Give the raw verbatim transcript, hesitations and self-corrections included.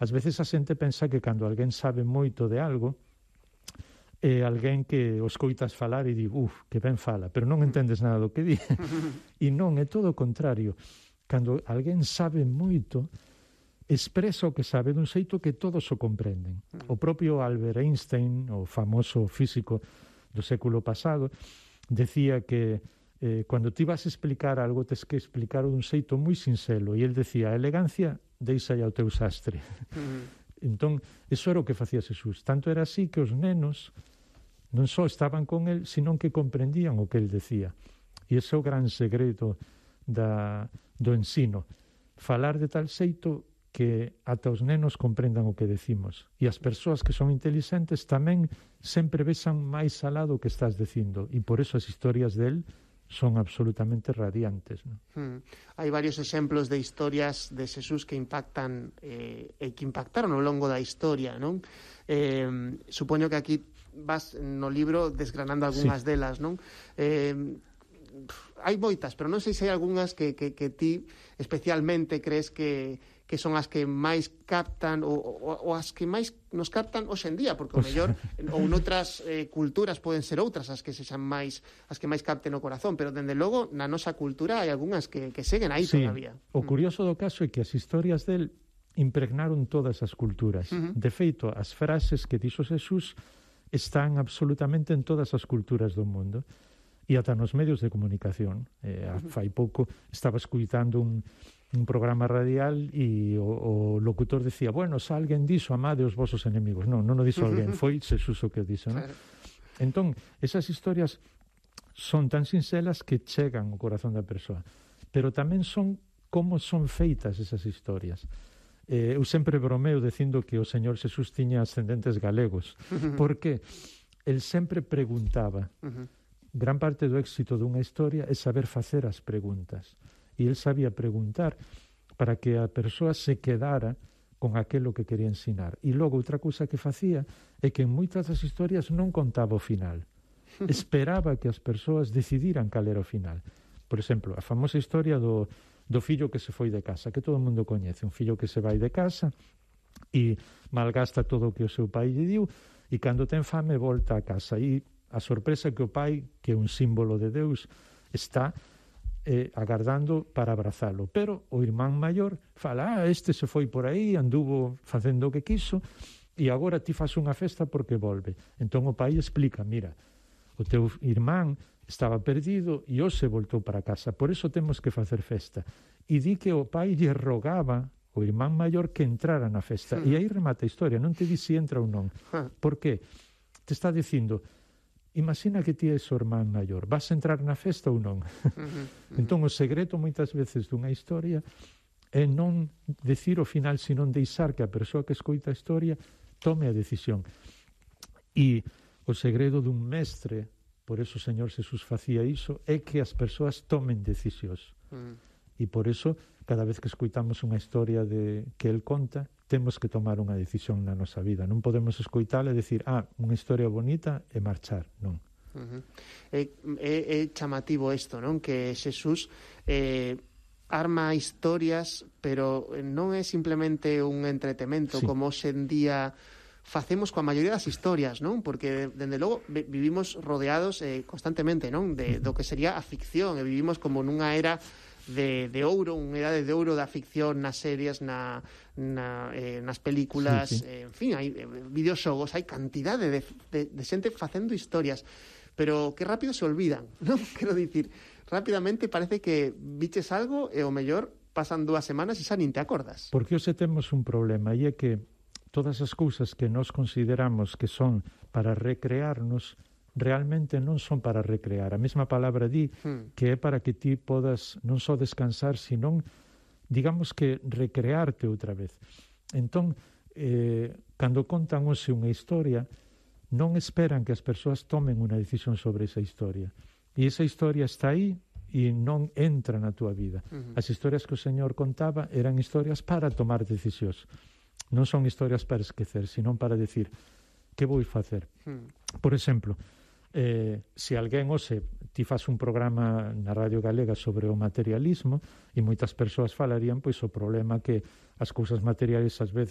ás veces a xente pensa que cando alguén sabe moito de algo, é alguén que o escoitas falar e di, uf, que ben fala, pero non entendes nada do que di. E non, é todo o contrario. Cando alguén sabe moito, expresa o que sabe dun xeito que todos o comprenden. O propio Albert Einstein, o famoso físico do século pasado, decía que eh, cando ti vas a explicar algo, tes que explicar dun xeito moi sinxelo, e el decía, a elegancia deixa ao teu sastre. Uh-huh. Entón, eso era o que facía Xesús. Tanto era así que os nenos non só estaban con el, senón que comprendían o que el decía. E ese é o gran segredo da, do ensino. Falar de tal xeito que ata os nenos comprendan o que decimos. E as persoas que son inteligentes tamén sempre vexan máis alá do que estás dicindo. E por eso as historias del son absolutamente radiantes, ¿no? Hmm. Hai varios exemplos de historias de Xesús que impactan eh, e que impactaron ao longo da historia, non? Eh, supoño que aquí vas no libro desgranando algunhas sí. delas, non? Eh, hai moitas, pero non sei se hai algunhas que, que, que ti especialmente crees que, que son as que máis captan ou, ou, ou as que máis nos captan hoxe en día, porque o mellor ou noutras eh, culturas poden ser outras as que sexan máis as que máis capten o corazón, pero dende logo na nosa cultura hai algunhas que, que seguen aí sí. todavía. O curioso do caso é que as historias del impregnaron todas as culturas. Uh-huh. De feito, as frases que dixo Xesús están absolutamente en todas as culturas do mundo. E ata nos medios de comunicación. Eh, fai pouco estaba escuitando un, un programa radial e o, o locutor decía, bueno, se alguén dixo, amade os vosos enemigos. Non, non o dixo alguén, foi Xesús o que o dixo, non? Entón, esas historias son tan sinxelas que chegan ao corazón da persoa, pero tamén son como son feitas esas historias. Eh, eu sempre bromeo dicindo que o Señor Xesús tiña ascendentes galegos, porque el sempre preguntaba. Gran parte do éxito dunha historia é saber facer as preguntas. E el sabía preguntar para que a persoa se quedara con aquilo que quería ensinar. E logo, outra cousa que facía é que en moitas das historias non contaba o final. Esperaba que as persoas decidiran cal era o final. Por exemplo, a famosa historia do, do fillo que se foi de casa, que todo o mundo coñece. Un fillo que se vai de casa e malgasta todo o que o seu pai lle diu e cando ten fame volta a casa. E a sorpresa que o pai, que é un símbolo de Deus, está eh, agardando para abrazalo. Pero o irmán maior fala, ah, este se foi por aí, anduvo facendo o que quiso, e agora ti faz unha festa porque volve. Entón o pai explica, mira, o teu irmán estaba perdido e hoxe voltou para casa, por eso temos que facer festa. E di que o pai lle rogaba o irmán maior que entrara na festa. Mm. E aí remata a historia, non te di si entra ou non. Por que? Te está dicindo, imagina que ti és o irmán maior, vas a entrar na festa ou non? Uh-huh, uh-huh. Entón, o segredo moitas veces dunha historia é non decir o final, senón deixar que a persoa que escoita a historia tome a decisión. E o segredo dun mestre, por eso o Señor Xesús facía iso, é que as persoas tomen decisións. Uh-huh. E por eso, cada vez que escoitamos unha historia de que el conta, temos que tomar unha decisión na nosa vida. Non podemos escoitala e decir, ah, unha historia bonita e marchar, non. Uh-huh. É, é, é chamativo isto, non? Que Xesús eh, arma historias, pero non é simplemente un entretemento, sí. Como hoxe en día facemos coa maioría das historias, non? Porque, dende logo, vivimos rodeados eh, constantemente, non? De, do que sería a ficción, e vivimos como nunha era de, de ouro, unha idade de ouro da ficción nas series, na, na, eh, nas películas, sí, sí. Eh, en fin, hai eh, videoxogos, hai cantidade de, de, de xente facendo historias, pero que rápido se olvidan, non? Quero dicir, rapidamente parece que viches algo e o mellor pasan dúas semanas e xa nin te acordas. Porque hoxe temos un problema, e é que todas as cousas que nós consideramos que son para recrearnos realmente non son para recrear. A mesma palabra di hmm. que é para que ti podas non só descansar, senón, digamos que recrearte outra vez. Entón, eh, cando contan hoxe unha historia, non esperan que as persoas tomen unha decisión sobre esa historia. E esa historia está aí e non entra na túa vida. Uh-huh. As historias que o Señor contaba eran historias para tomar decisións. Non son historias para esquecer, senón para decir, que vou facer? Uh-huh. Por exemplo, Eh, se alguén hoxe ti faz un programa na Radio Galega sobre o materialismo e moitas persoas falarían pois o problema que as cousas materiais ás veces